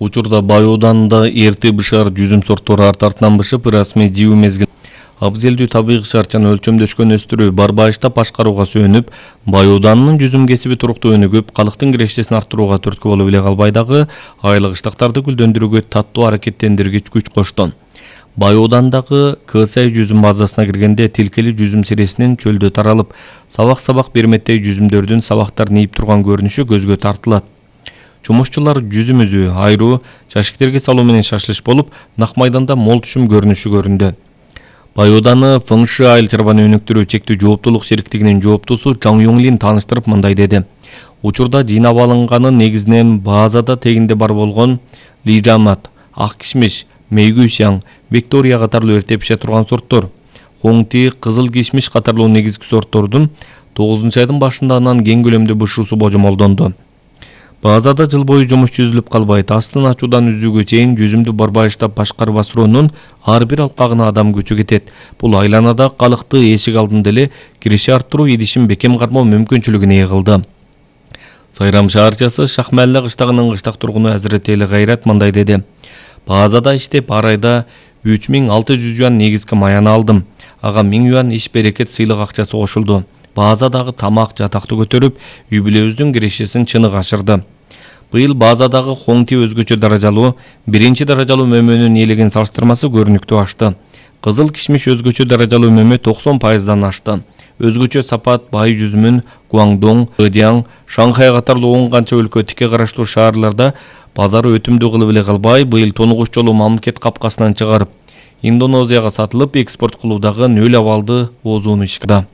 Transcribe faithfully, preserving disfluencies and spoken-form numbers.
Учурда Байооданда эрти бышар жүзүм сорттору арт артынан бышып, расмий жыйуу мезгил абзелдүү табигый шарчаны өлчөмдөшкөн өстүрүү Барбайышта башкарууга сүйөнүп, Байооданын жүзүм кесиби туруктуу өнүгүп, калктын кирешесин арттырууга түрткү болуп эле калбай дагы айылык ыштактарды гүлдөндүрүүгө таттуу аракеттендиргич күч кошту. Байоодандагы Кысай жүзүм базасына киргенде тилкели жүзүм сиресинин чөлдө таралып, сабак-сабак берметтей жүзүмдөрдүн сабактарын ийип турган көрүнүшү көзгө тартылат. Жумушчулар жүзүм үзүү, айруу, жашиктерге салуу менен шашылыш болуп, Нак майданда мол түшүм көрүнүшү көрүндү. Байооданы Фыңшы айыл чарбаны өнүктүрүү чектүү жооптуулук шериктигинин жооптусу Чаң Юңлин тааныштырып мындай деди. Учурда жыйнап алынганы негизинен базада тегинде бар болгон лижамат, ак кишмиш, мейгүү шаң, Виктория катарлуу эрте пише турган сорттор. Хоңти, кызыл кишмиш катарлуу негизги сорттордун тогузунчу айдын башындан кең көлөмдө бышуусу божомолдонду. Базада жыл бою жумуш жүзүлүп калбайт. Астын ачуудан үзүүгө чейин жүзүмдү Барбайышта башкарып асыроонун ар бир алкагына адам көчү кетет. Бул айланада калыкты эшик алдында эле киреше арттыруу идишин бекем кармоо мүмкүнчүлүгүн ээ кылды. Сайрам шаарчасы Шахмалла кыштагынын кыштак тургуну Азиретели Кайрат мындай деди. Базада иштеп ар айда үч миң алты жүз юан негизги маяны алдым. Ага миң юан иш берекет сыйлык акчасы кошулду. Базадагы тамак жатакты көтөрүп, үй бүлөбүздүн кирешесин чыныгы ашырды. Быйыл базадагы Хоңти өзгөчө даражалуу, биринчи даражалуу мөмөнүн ээлеген салыштырмасы көрүнүктүү ашты. Кызыл кишмиш өзгөчө даражалуу мөмө токсон пайыздан ашты. Өзгөчө сапат бай жүзүмүн Гуаңдоң, Ыдяң, Шанхай катарлуу он канча өлкө тике караштуу шаарларда базары өтүмдүү кылып эле калбай, быйыл тонугуч жолу мамлекет капкасынан чыгарып, Индонезияга сатылып экспорт кылуудагы нөл абалды оозууну ишке